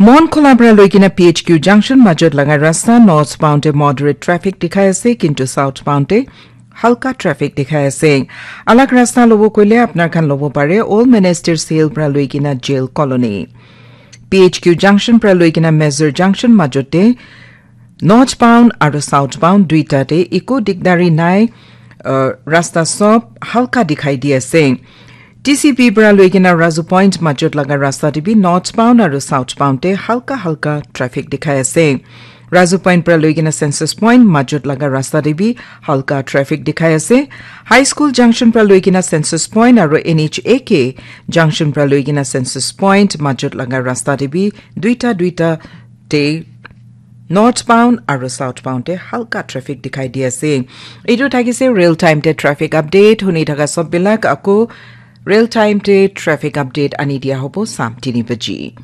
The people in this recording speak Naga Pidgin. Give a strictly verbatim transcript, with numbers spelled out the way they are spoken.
Monkhola para loikena P H Q junction majot laga rasta northbound te moderate traffic dikhai ase, kintu southbound te halka traffic dikhai ase. Alag rasta lobo koile apnar khan lobo pare Old Ministers Hill para loikena Jail Colony. P H Q junction para loikena Mazur junction majot te northbound aru southbound duita te eko digdari nai, uh, rasta sob halka dikhai di ase. T C P para loikena Razu Point majot laga rasta te bi northbound aru southbound te halka halka traffic dikhai ase. Razu Point para loikena Census Point majot laga rasta te bi halka traffic dikhai ase. High School junction para loikena Census Point aru N H A K junction para loikena Census Point majot laga rasta te bi duita duita te northbound aru southbound te halka traffic dikhai di ase. Etu thakise real time te traffic update. Huni thaka sob bilak ako real time te traffic update ani dia hobo sam tini baji.